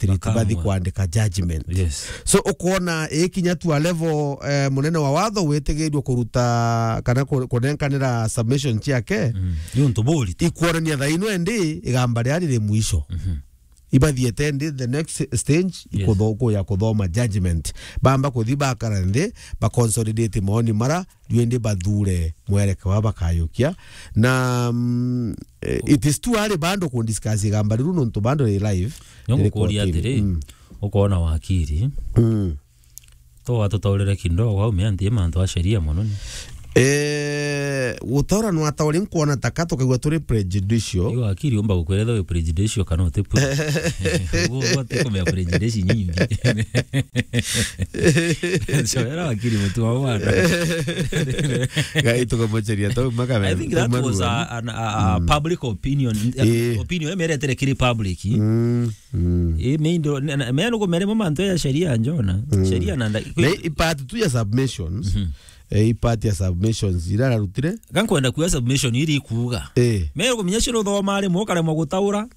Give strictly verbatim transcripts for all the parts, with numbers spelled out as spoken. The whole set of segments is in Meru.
magistrate bathi kwandika judgment. Yes. So, ukoona ikinya tu a level, eh, munene wa watho witigiirue kuruta kana ku-, kunenkanira submission ciake. Mm. Ni untu buri tu. Ikuonania thaino endi igamba riria riri mwisho. Mhm. Ibathiete ndi the next stage, yes, ikutho-, kuya kuthoma judgment. Bamba kuthi bakara nthi, ba consolidate maoni mara, riu indi bathure mwereke wa bakayukia. Na, mm, eh, it is too early bando ku discuss igamba riu nontu bando ri live. Nongukuria atiri, mm, ukoona wakiri. Mm. To watutaurire kidogo, au meantie mantu a sheria mono ni. Eh, gutaura nwatauri nkwona taka tukaigua turi prejudicial. Igo akiri umba gukwira wi prejudicial kana uti pre-, ugo, ugo ti kumea prejudice nyingi. So, era akiri mutu wa mwana. Gai tukamocheria tau maka. I think that was a, an, a, a public opinion. Eh. Opinion emeretere kiri public. Mm. Mm. Ii, me indo, na, na, me nukumere mo mantu ya sheria njona. Mm. Sheria na nda-, na i part tu ya submissions. Mhm. Eh, i part ya submissions ira ararutire. Ga nkwenda kuuga submission iri ikuuga. Eh. Me nukumenya cio nuthoma rimwe ukaremwa gutaura.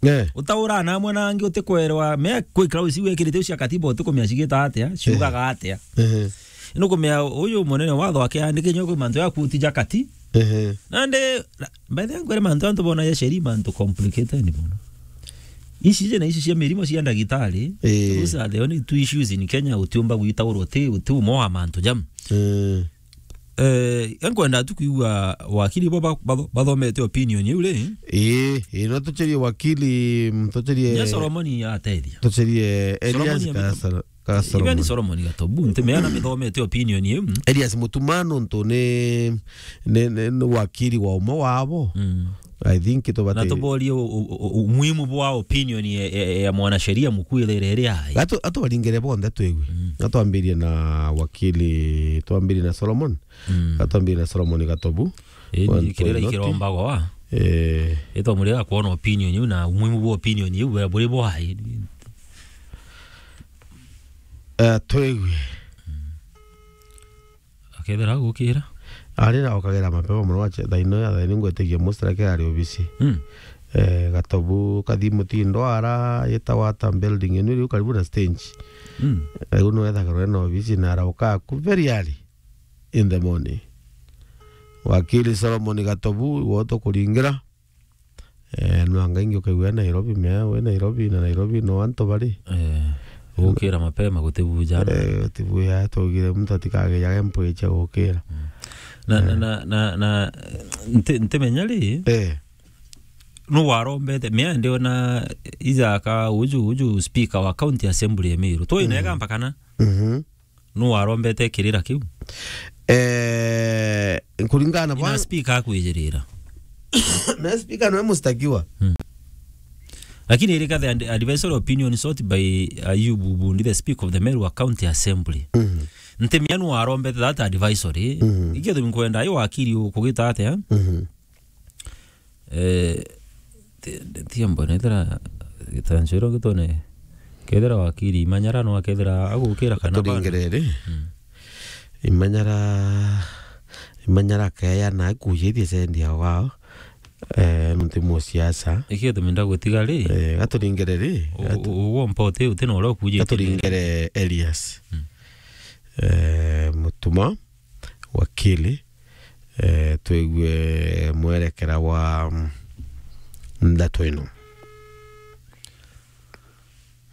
Eh. Utaura na amwe na angi utikwerwa. Me kwikira uci wekirite cia katiba utikumenya cigita atia, ciugaga atia. Ehe. Nukumenya uyu munene watho akiandike nyo kwi mantu ya kuti ja kati. Ehe. Nandi, na, by the way, ngwere mantu antu bona ya sheria mantu complicated mono. Ici je na ici cia mirimo cia ndagitari, eh, those are the only two issues in Kenya utiumba gwitaurwa uti, uti umo wa mantu jam. Eh. Eh, nkwenda tu kuigua wakiri bo ba-, ba-, bathomete opinion iu ri? Ii, ii, no tucherie wakiri, mm, tucherie. Nya Solomoni atethia. Tucherie Elias Solomoni Kasara. Ka Solomon. Even Solomon Gatobu, ntimeana mithomete opinion iu. Elias Mutuma nontu ni, ni, ni, ni wakiri wa umwe wabo. Mm. I think tubati- Na tuborie u-, u-, u-, umuhimu bwa opinion ya, ya, ya mwanasheria mukuu ithire iri ai. Atu-, atubaringire bonthe twigwe. Mm. Atwambirie na wakiri, twambirie na Solomon. Mm. Atwambirie na Solomon Gatobu. Ii, kirira ikirombagwa wa. Eh. Itwamurira kwona opinion iu na umuhimu bwa opinion iu, buri bwai. Eh, twigwe. Akethira agukira. Ari na okagira mapema muno wache, thaa ino ya thaa ino ngwetigia mustrike ari obisi. Mm. Eh, Gatobu kathi mutindo ara, yeta wata building ino iri karibu na stage. Mm. Eh, uno ethagirwa ena obisi na arauka aku very early in the morning. Wakiri Solomon Gatobu, woto kuringira. Eh, nwanga ingi ukaigua Nairobi, mea we Nairobi na Nairobi no antu bari. Eh, gukira mapema gutibuja. Eh, gutibuja, twaugire muntu atikagejage mpwi cia gukira. Mm. Na, na, eh, na, na, na, nti-, ntimenya ri? Eh. Nu warombete, mea ndiona ijaka uju, uju speaker wa County Assembly ya Meru. Twi nega mpaka na? Mhm. Nu warombete kirira kiu? Eh, kuringana na bwa- speaker akwijirira. Na speaker nwe mustakiwa. Hmm. Lakini irika the ad-, advisory opinion sought by Ayubu Bundi, the speaker of the Meru County Assembly. Mhm. Ntimenya nu warombete that advisory. Mhm. Ikio tu nkwenda ayo wakiri ukugita atia? Mhm. Eh, ti, ti, tiembo, nethira gitancio iro gitone, kethira wakiri Imanyara no akethira agukira kana bado? Turingiriri. Mm. Imanyara, Imanyara akeya na akujithia sendi ya wao, eh, nuntu musiasa. Ikio tumi ndagutiga ri? Eh, gaturingiriri. U-, gatu- u-, uguo mpote uti na uria ukujithia. Gaturingire Elias. Mm. Eh, Mutuma, wakili, eh, twigue mwerekera wa, mm, ndeto ino.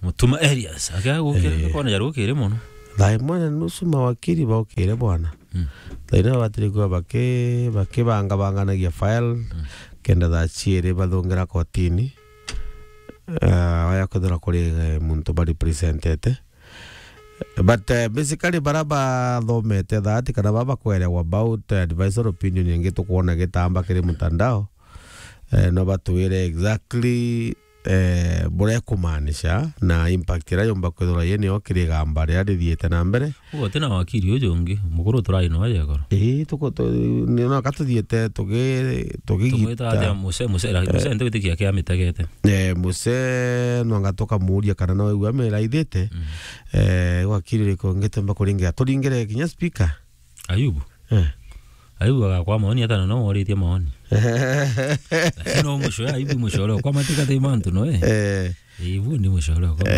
Mutuma Elias, akea gukira, eh, kona jarukire mono. Thaa imwe na nusu mawakili baukire bwana. Mm. Thaa ino batiri kuwa baki-, bakibangabanganagia file, mm, kenda thaa ciiri bathungira kotini. Ah, waya kwithira kuri, eh, muntu barepresentete. But, eh, basically, bara bathomete that, kana bara bakwerewa about, eh, advisory opinion ingi tukwona gitamba kiri mutandao, eh, no batwire exactly, eh, buria ikumaanisha na impact iria yumba kwithirwa yinio kiri igamba riria rithiite na mbere. Uguo ti na wakiri uju ungi, mukuru turai no aje goro. Ii, tuko tu-, ni no ka tuthiite tugi-, tugigita. Tumwita atia Muse, Muse, eh, Muse nti witikia kia mitegete. Eh, Muse, nwanga tukamuuria kana no wigua amiraithite. Mm. Eh, wakiri uriku ngitemba kuringira? Turingire kinya speaker. Ayubu? Eh. Ayubu agakwa maoni, ata na no woritie maoni. Lakini no mucoya, Ayubu mucoya, kwa matika te mantu no, eh. Eh. Ayubu ni mucoya, kwa.